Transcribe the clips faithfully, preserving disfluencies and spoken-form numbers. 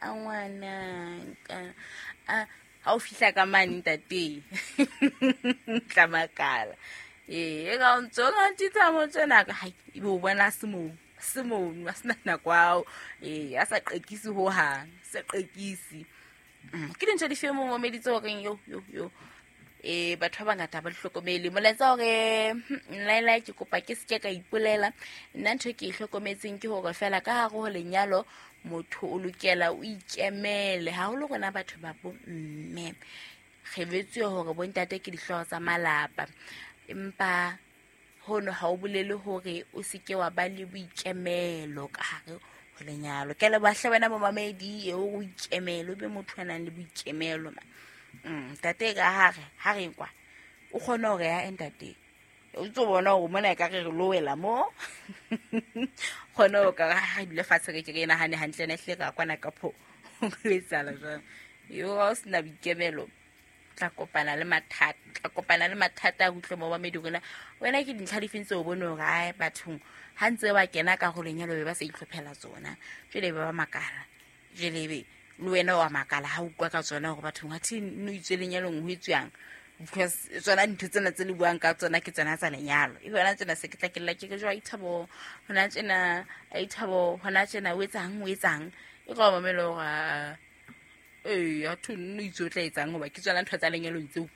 A ngwanaka a ha o fihla ka mane ntate tla makala. Ee e ka o ntso ngantitsa mo tsena ka hai ebe o bona se moo se moo a sena nako ao. Ee a sa qekise hohang, sa qekise. Ke dintho di fe mo momeditse horeng yo yo yo eh batho ba bangata ba di hlokomele. Molaetsa hore nlaela ke kopa ke seke ka ipolela nna ntho e ke e hlokometseng ke hore fela ka hare ho lenyalo motho o lokela o ikemele haholo rona batho ba bo mme re betswe hore bontate ke dihlooho tsa malapa empa hono ha o bolele hore o seke wa ba le boikemelo ka hare ho lenyalo. Ke leboha hle wena momamedi eo o ikemele o be motho a nang le boikemelo ma. Mm, ntate ka hare ha re kwa o kgone hore ya ntate o tso bona hore mona e ka re re lo wela mo kgone ho ka ha dule fatshe re ke re nahane hantle ne hle ka kwana ka pho ho etsahala jwang. Yo ha o sena boikemelo tla kopana le mathata, tla kopana le mathata a utlwe mo mamedi rona wena ke dintlha difeng tseo o bone hore ai bathong ha ntse ba kena ka ho lenyalo be ba sa itlhophela tsona jwale be ba makala jwale be le wena wa makala ha o utlwa ka tsona hore bathong ha thi no itswe lenyalong ho etswang because tsona dintho tsena tse le buang ka tsona ke tsona tsa lenyalo. E hona tsena se ke tla ke lla ke re jwa ithabo hona tsena ithabo hona tsena o etsang o etsang e ka mamelo hore ee a thu no itse o tla etsang hoba ke tsona ntho tsa lenyalong tseo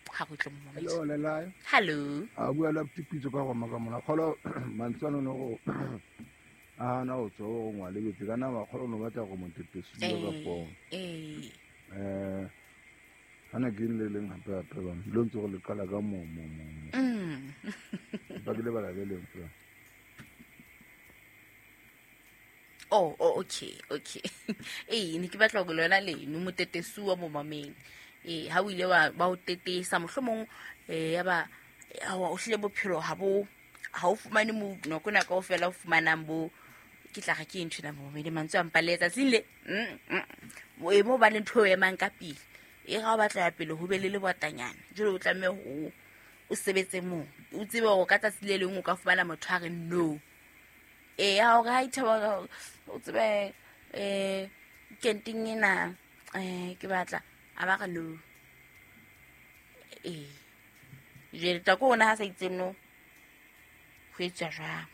ha go tle mo mamedi. Hello Lelae. Hello. A bua la tipitso ka go maka mona kholo mantswe no go a na o tso go ngwa le betse kana ba kholo no batla go motetesi ka phone. Eh. Eh ana ke le leng hape hape ba lo ntse go le qala ka mo mo mo. Mm. Ba ke le bala le leng fela. Oh, oh, okay, okay. Eh, ne ke batla go lona leno motetesu wa momamedi. Eh, ha o ile wa ba o tetesa mohlomong eh ya ba o hlile bophelo ha bo ha o fumane mo nako na kaofela o fumanang bo ke tla re ke ntho na momamedi mantswe a mpaletsa tsile. Mm. E mo ba le ntho e emang ka pele. E ga o batla ya pele ho be le lebotanyana. Jwale o tlameha ho o sebetse moo. O tsebe hore ka tsatsi le leng o ka fumana motho a re no. E ha o re ha ithaba o tsebe eh kenting ena eh ke batla a ba re no. Eh jwale tla ko ona ha sa itse no ho etswa jwang.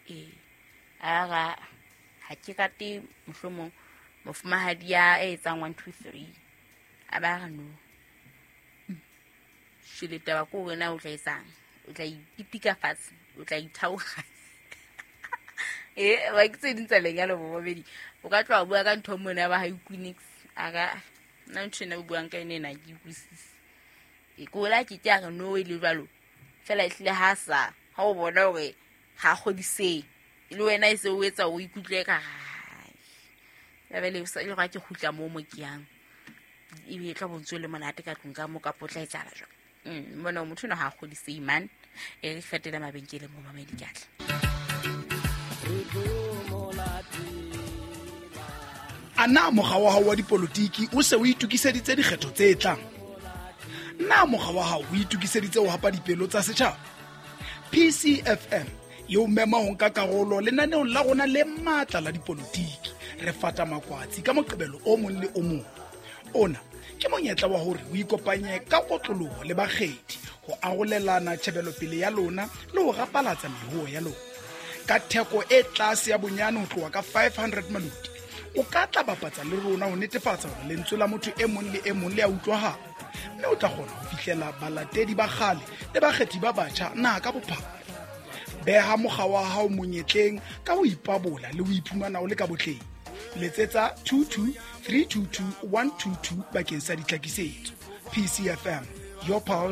Eh a ra ha ke rate mohlomong mofumahadi ya etsang one two three a ba re no. Shile taba ko wena o tla etsang o tla ipitika fatshe o tla ithaoga. Eh ba ke tse ding tsa lenyalo bo babedi o ka tloha bua ka ntho mona ba ha Equinix a ka nna ntho ena o buang ka ene ena ke utlwisise. E kola ke ke a re no e le jwalo fela ehlile ha sa ha o bona hore ha kgodise le wena e se o etsa o ikutlwe ka ya bele o sa ile ga ke kgutla mo mo ke yang e be tla bontswe le monate ka tlung ka mo ka potla e tsala jwang. Mm mona motho no ha kgodise man e re fetela mabenkeleng mo mamedi ke atla. Ana mokga wa hao wa dipolotiki o se o itokiseditse dikgetho tse tlang? Na mokga wa hao o itokiseditse ho hapa dipelo tsa setjhaba? P C F M e o mema ho nka karolo lenaneong la rona le matla la dipolotiki. Re fata makwatsi ka Moqebelo o mong le o mong. Ona ke monyetla wa hore o ikopanye ka kotloloho le bakgethi ho arolelana tjhebelopele ya lona le ho rapalatsa mehoho ya lona. Ka theko e tlase ya bonyane ho tloha ka five hundred maloti o ka tla bapatsa le rona ho netefatsa hore lentswe la motho e mong le e mong le a utlwahala mme o tla kgona ho fihlela balatedi ba kgale le bakgethi ba batjha naha ka bophara. Beha mokga wa hao monyetleng ka ho ipabola le ho iphumana o le ka botleng. Letsetsa two two three two two one two two bakeng sa ditlhakisetso. P C F M, your pulse.